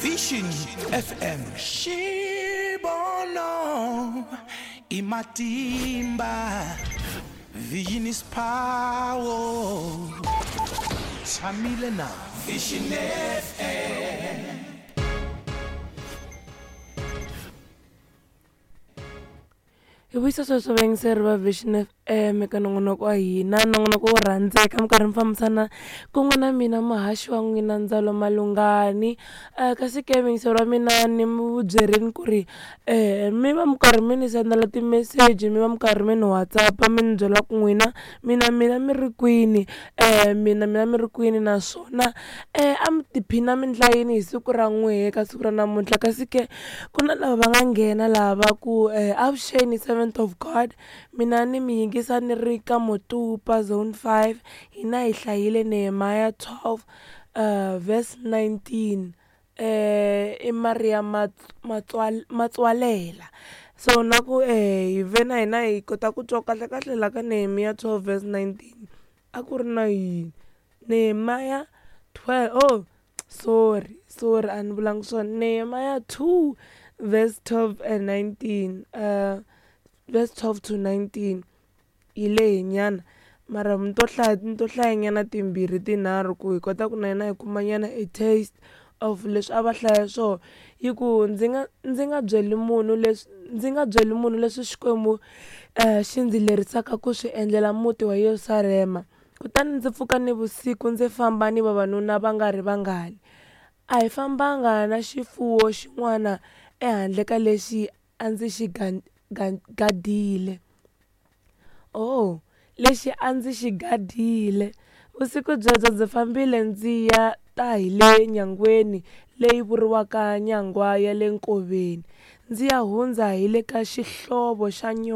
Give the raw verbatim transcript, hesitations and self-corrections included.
Vision F M. Xibono i matimba. Vision is power. Tshamile na Vision F M. Hi vuyisa sweswo vayingiseri va Vision F M eka nongonoko wa hina, nongonoko wo rhandzeka mi karhi mi fambisana kun'we na mina muhaxi wa n'wina Ndzalo Malungani. Kasi ke vayingiseri wa mina ni mi byerini ku ri mi va mi karhi mi ni sendela timeseji, mi va mi karhi mi ni WhatsApp mi ni byela ku n'wina mina mina mi ri kwini, mina mina mi ri kwini naswona a mi tiphina mi endla yini hi siku ra n'wehe ka siku ra namuntlha. Kasi ke ku na lava va nga nghena laha va ku avuxeni servant of God, mina ni mi yingisa ni ri ka Motupa zone five, hina hi hlayile Nehemiah twelve verse nineteen i Maria Matswalela. So na ku hi ve na hina hi kota ku twa kahle kahle la ka Nehemiah twelve verse nineteen a ku ri na yini. Nehemiah twelve, oh sorry sorry a ni vulanga swona, Nehemiah two verse twelve and nineteen, uh verse twelve to nineteen yi lehe nyana mara mi to hlaya ni to hlaya nyana timbirhi tinharhu ku hi kota ku na hina hi kuma nyana a taste of leswi a va hlaya swona. Yi ku ndzi nga ndzi nga byeli munhu leswi ndzi nga byeli munhu leswi Xikwembu xi ndzi lerisaka ku swi endlela muti wa Yerusalema. Kutani ndzi pfuka nivusiku ndzi famba ni vavanuna va nga ri vangani. A hi fambanga na xifuwo xin'wana ehandle ka lexi a ndzi xi gadile. Oh, lexi a ndzi xi gadile. Vusiku byebyo ndzi fambile ndzi ya ta hi le nyangweni leyi vuriwaka nyangwa ya le nkoveni, ndzi ya hundza hi le ka xihlovo xa nyoka.